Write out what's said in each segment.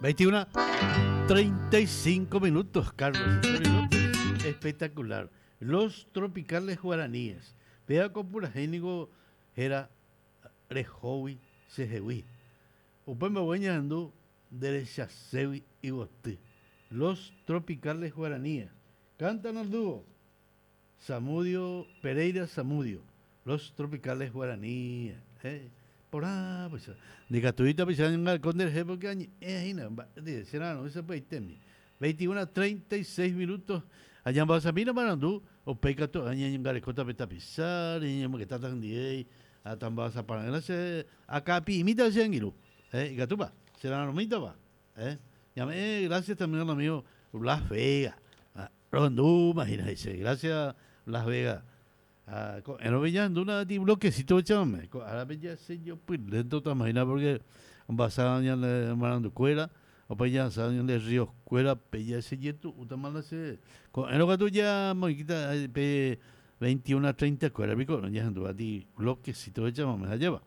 21 35 minutos, Carlos. Espectacular. Los Tropicales Guaraníes. Péva ko purahéi niko héra Rehógui chehegui. Upe mbogue ñahendu nderechaségui yvoty. Los Tropicales Guaraníes. Cantan al dúo Zamudio Pereira Zamudio. Los Tropicales Guaraníes. Eh, porã peicha. Ndikatúita peicha añangareko nderehe porque añe'ẽ hína mba'e che ra'arõ sapy'aitémi. 21 36 minutos. Añambohasamína marandu, upéi katu añeñangarekóta pe tapicháre, ñañemongetáta hendivéi, ha tambohasapara'ỹra che akãpi'imíta che angirũ. Eh, ikatúpa? Che ra'arõmítapa? Eh, ñame'ẽ gracias también al amigo Blas Vega. Ah, rohendúma hína he'ise. Gracias Blas Vega. Ah, ko'ẽrõve ñahendúna ti bloquecito echáme. Ko árape jasejopy lento tama hína porque ombasa ñane marandukuéra, opa jahasa ñande río kuérape jasejetu'útama la che. Ko'ẽrõ katu jamoĩkíta pe 21 30 kuéra piko ñahendúva ti bloquecito echáme hajéva.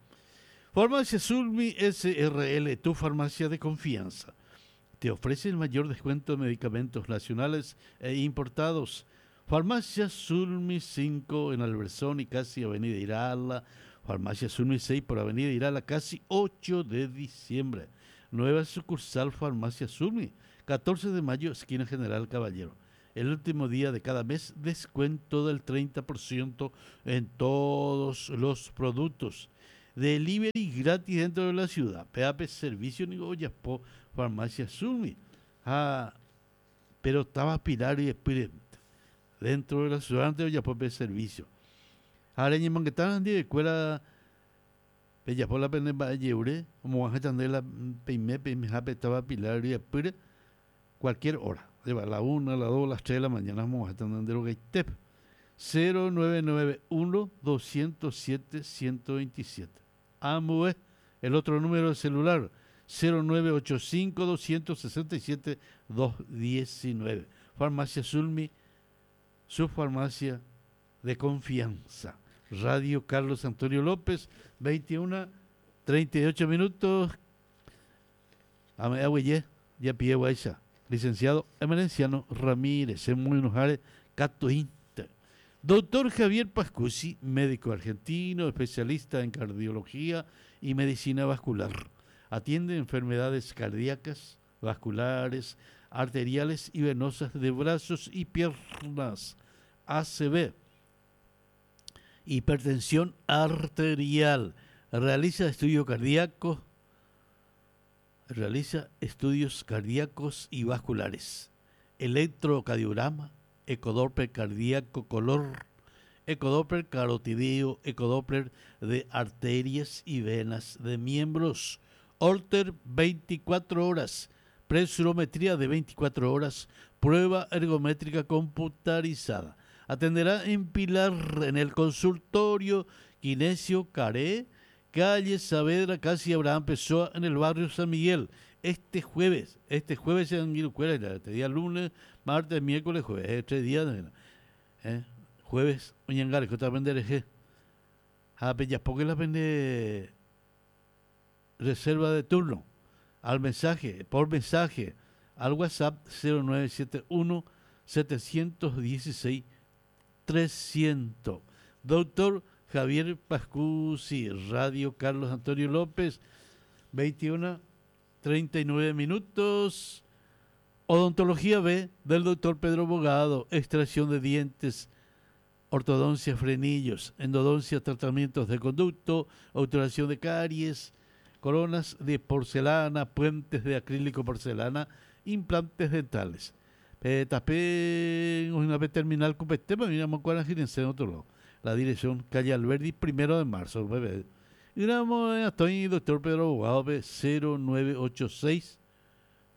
Farmacia Zulmi SRL, tu farmacia de confianza. Te ofrece el mayor descuento de medicamentos nacionales e importados. Farmacia Zulmi 5 en Albertson y casi Avenida Irala. Farmacia Zulmi 6 por Avenida Irala, casi 8 de diciembre. Nueva sucursal Farmacia Zulmi, 14 de mayo, esquina General Caballero. El último día de cada mes, descuento del 30% en todos los productos. Delivery gratis dentro de la ciudad. PAP Servicio Nigo Oyapo, Farmacia Zulmi. Ah, pero estaba Pilar y Espíritu. Dentro de la ciudad antes Oyapo servicio. Ahora ñemongetáva ndivekuéra pejapo la pene mba'ejeure omog̃uahẽ chandéla peime peimehápe táva Pilar ryepýre cualquier hora. Lleva la una, la dos, las tres de la mañana omog̃uahẽ chande nde rogaitépe. 0991 207 127. Ambue el otro número de celular 0985 267 219. Farmacia Zulmi, su farmacia de confianza. Radio Carlos Antonio López, 21 38 minutos. Ame'ẽ ya guaycha. Licenciado Emerenciano Ramírez, muy Catointe. Doctor Javier Pascucci, médico argentino, especialista en cardiología y medicina vascular. Atiende enfermedades cardíacas, vasculares, arteriales y venosas de brazos y piernas. ACV. Hipertensión arterial. Realiza estudio cardíaco. Realiza estudios cardíacos y vasculares. Electrocardiograma, ecodoppler cardíaco color, ecodoppler carotideo, ecodoppler de arterias y venas de miembros, Holter 24 horas, presurometría de 24 horas, prueba ergométrica computarizada. Atenderá en Pilar, en el consultorio Kinesio Caré, calle Saavedra, casi Abraham Pessoa, en el barrio San Miguel. Este jueves, este jueves en Guirucuela, este día lunes, martes, miércoles, jueves, tres días, eh, jueves, oñangare, que vender Ha porque la vende reserva de turno al mensaje, por mensaje, al WhatsApp 0971 716 300. Doctor Javier Pascucci, Radio Carlos Antonio López, 21 39 minutos. Odontología B del doctor Pedro Bogado, extracción de dientes, ortodoncia frenillos, endodoncia tratamientos de conducto, obturación de caries, coronas de porcelana, puentes de acrílico porcelana, implantes dentales. Tape una vez terminal cupete, miramos cuál es en otro lado. La dirección calle Alberdi, 1 de marzo. Bebé. Y estoy doctor Pedro Abogado, 0986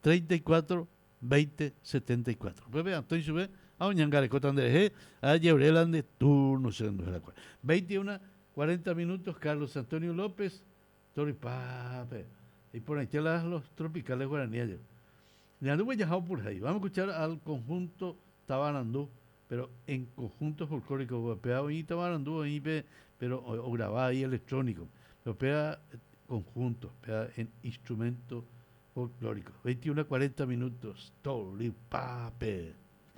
34 20 74. Bebé, Antonio sube a Oñangareco Andrés, a Yebrelan de turno, 21 40 minutos, Carlos Antonio López, Toripape. Y por ahí están los tropicales guaraníes. Por ahí. Vamos a escuchar al conjunto Tabarandú, pero en conjunto folclórico. Pega ahí Tabarandú, ahí, pero o, grababa ahí electrónico. Pero pega conjunto, pega en instrumento Folclórico. 21 40 minutos. Torypápe.